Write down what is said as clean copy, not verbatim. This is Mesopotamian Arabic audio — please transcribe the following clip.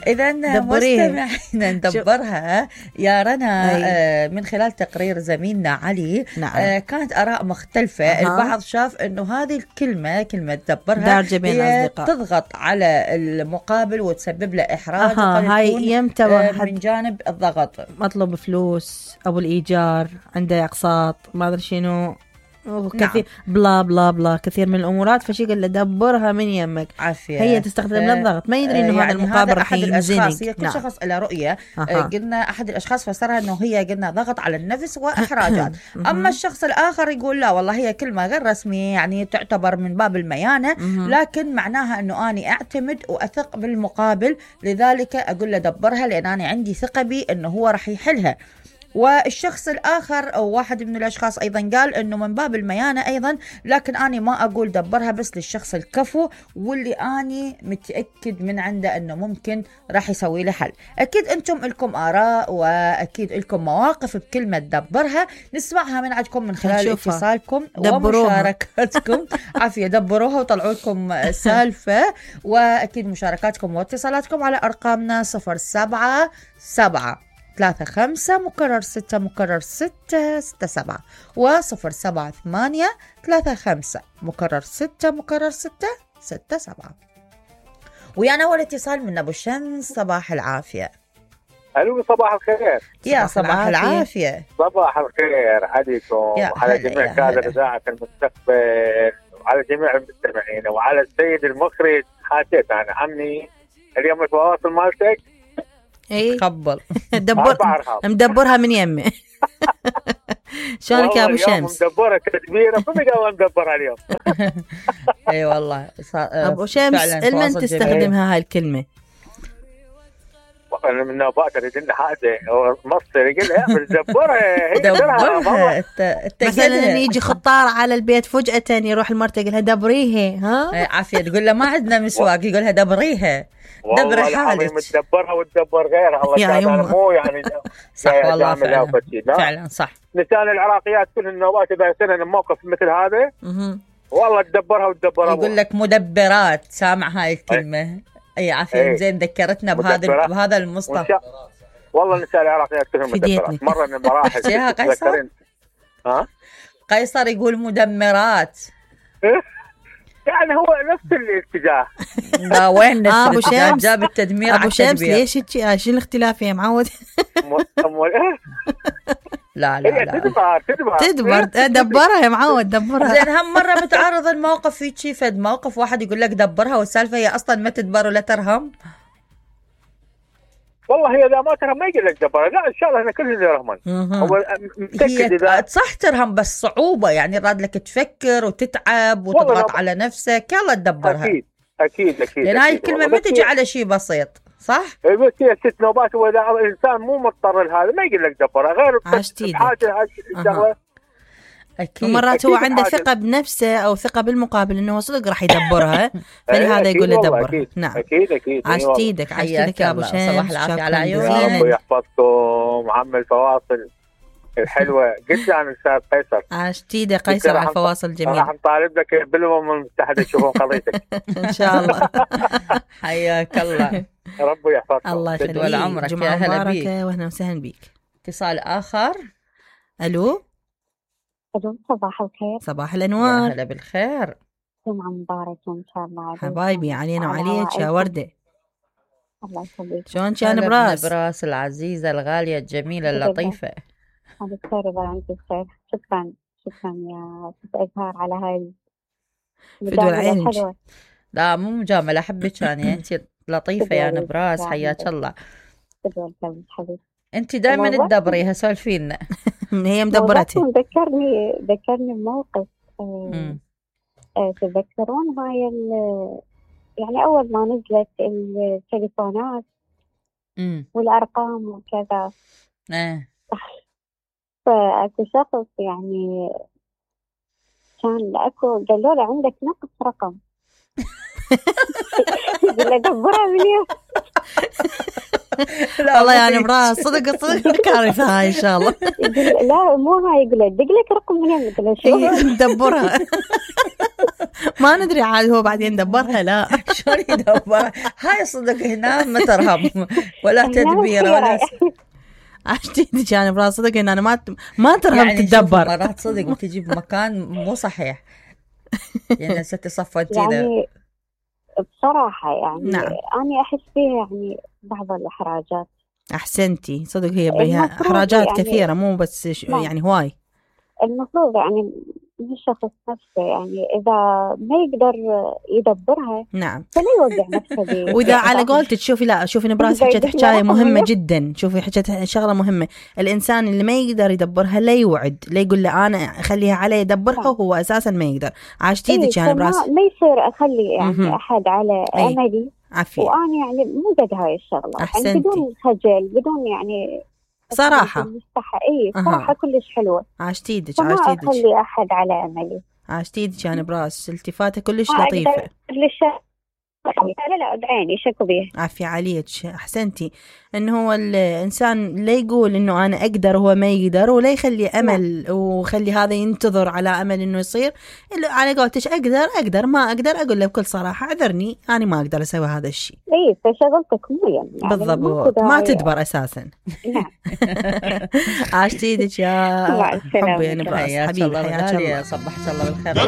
إذا مستمعينا ندبرها يا رنا من خلال تقرير زميلنا علي. نعم. كانت آراء مختلفة. البعض شاف إنه هذه الكلمة كلمة دبرها هي تضغط على المقابل وتسبب له إحراج. هاي من جانب الضغط، مطلوب فلوس أو الإيجار، عنده أقساط، ما أدري شنو كثير. نعم. بلا بلا بلا كثير من الأمورات. فشي قال له دبرها من يمك. عافية. هي تستخدم للضغط، ما يدري إنه يعني هذا المقابل راح ينزنق. هي كل شخص له رؤية. قلنا أحد الأشخاص فسرها إنه هي قلنا ضغط على النفس وإحراجات. أما الشخص الآخر يقول لا والله هي كلمة غير رسمية، يعني تعتبر من باب الميانة، لكن معناها إنه أنا أعتمد وأثق بالمقابل، لذلك أقول له دبرها لأن أنا عندي ثقة بي إنه هو راح يحلها. والشخص الآخر أو واحد من الأشخاص أيضا قال أنه من باب الميانة أيضا، لكن أنا ما أقول دبرها بس للشخص الكفو واللي أنا متأكد من عنده أنه ممكن راح يسوي له حل. أكيد أنتم لكم آراء وأكيد لكم مواقف بكلمة دبرها، نسمعها من عندكم من خلال اتصالكم ومشاركاتكم. عافية، دبروها وطلعوا لكم سالفة، وأكيد مشاركاتكم واتصالاتكم على أرقامنا 074-5-6-6-6-7 و078-35-6-6-7. ويانا أول اتصال من أبو شمس. صباح العافية. ألو صباح الخير. يا صباح العافية. صباح الخير عليكم وعلى جميع كادر إذاعة المستقبل وعلى جميع المستمعين وعلى السيد المخرج. حكيت أنا عمي اليوم التواصل مالتك. اي قبل مدبرها من يمي. شلونك يا ابو شمس؟ مدبرها تدبيره فما مدبرها اليوم. اي والله ابو شمس المن تستخدمها هاي الكلمه؟ انا من باكر يدنا حاجه مصر يقول لها دبرها. دبرها مثلا يجي خطار على البيت فجأة يروح المرته يقول لها دبريها. ها عافيه، تقول له ما عندنا مسواق، يقول لها دبريها. دبر حالك. متدبرها وتدبر غيرها. الله تعالى مو يعني صح والله فعلا صح. نسان العراقيات كل النوبات اذا سنن موقف مثل هذا والله تدبرها وتدبرها. يقول لك مدبرات. سامع هاي الكلمه؟ اي عافيه. زين ذكرتنا بهذا المصطلح. والله نسان العراقيات كلهم مدبرات. مره من المراحل تذكرين قيصر يقول مدمرات. يعني هو نفس الاتجاه. لا وين نفس ابو شمس جاب التدمير. ابو شمس ليش شنو الاختلاف يا معود؟ لا تدبر دبرها يا معود دبرها. زين هم مره متعرض الموقف في شي فد موقف واحد يقول لك دبرها والسالفه هي اصلا ما تدبر ولا ترهم. والله هي اذا ما ترهم ما يقول لك دبرها. لا ان شاء الله احنا كلنا نرهمن. هو متاكد اذا صح ترهم بس صعوبه، يعني راد لك تفكر وتتعب وتضغط على نفسك. يلا تدبرها. اكيد لان هاي الكلمه ما تجي على شيء بسيط صح؟ بس هي 6 نوبات واذا الانسان مو مضطر لهذا ما يقول لك دبرها غير حاجه الشغله. أكيد. ومرات هو عنده ثقة بنفسه أو ثقة بالمقابل إنه صدق راح يدبرها، فلهذا يقول له دبر. نعم أكيد. عشتيدك يا أبو شمس. صباح العافية على عيونك. الله يحفظكم عم الفواصل الحلوة جدا عن الأستاذ قيصر. عشتيدك قيصر على الفواصل جميل. راح نطالب لك بالأمم المتحدة يشوفون قضيتك. إن شاء الله. حياك الله. ربي يحفظكم. الله يخليك. جمعة مباركة وأهلا وسهلا بيك. اتصال آخر. ألو صباح الخير. صباح الأنوار. يا هلا بالخير. جمعة مباركة إن شاء الله. حبايبي علينا وعليك يا وردة. الله يخليك. شلون كان براس العزيزة الغالية الجميلة اللطيفة. بخير إذا عندك بخير. شكرا يا ست إزهار على هاي المجاملة الحلوة. لا مو مجاملة، أحبك يعني أنت لطيفة يا نبراس. حياك الله. أنت دائما تدبريها. سولفينا. هي مدبرتها. ذكرني بموقف. تذكرون هاي يعني أول ما نزلت التليفونات والأرقام وكذا. فأكو شخص يعني كان قالوا له عندك نقص رقم. يقول له دبرها من يوم. والله يعني براس صدق كارثة هاي إن شاء الله. لا مو هاي، يقول دق لك رقم منين، يقول شو ندبرها. ما ندري عاد هو بعدين دبرها لا شلون يدبرها هاي صدق هنا ما ترهب ولا تدبير ولا عشتي يعني براس صدق ان انا ما ترهب يعني تدبر. مرات صدق تجي بمكان مو صحيح يعني ستي صفت يعني بصراحة يعني نعم. أنا أحس فيها يعني بعض الإحراجات. أحسنتي صدق هي بها إحراجات يعني كثيرة مو بس يعني هواي. المفروض يعني الشخص نفسه يعني إذا ما يقدر يدبرها نعم فلا يوقع نفسه وإذا على قولتك شوفي نبراس حكت حكاية مهمة جدا. شوفي حكت شغلة مهمة، الإنسان اللي ما يقدر يدبرها لا يوعد، لا يقول له أنا أخليها علي يدبرها وهو أساسا ما يقدر. عاشتي ديك يعني نبراس ما يصير أخلي يعني أحد على أملي عافية. وأنا يعني مو قد هاي الشغلة يعني بدون خجل بدون يعني صراحة صراحة كلش حلوة. عاشتي ديك ما أخلي أحد على أملي. عاشتي ديك يعني براس التفاتة كلش لطيفة. لا بعيني شكو بيه. عافية عليك أحسنتي. إنه هو الإنسان لا يقول إنه أنا أقدر هو ما يقدر، ولا يخلي أمل وخلي هذا ينتظر على أمل إنه يصير. على قولتش أقدر ما أقدر أقول له بكل صراحة عذرني أنا ما أقدر أسوي هذا الشيء. إيه فشغلتك مو يعني بالضبط ما تدبر أساسا. عاشتي ديك يا حبي يعني براس حبيبي حياك الله. صبحت الله بالخير.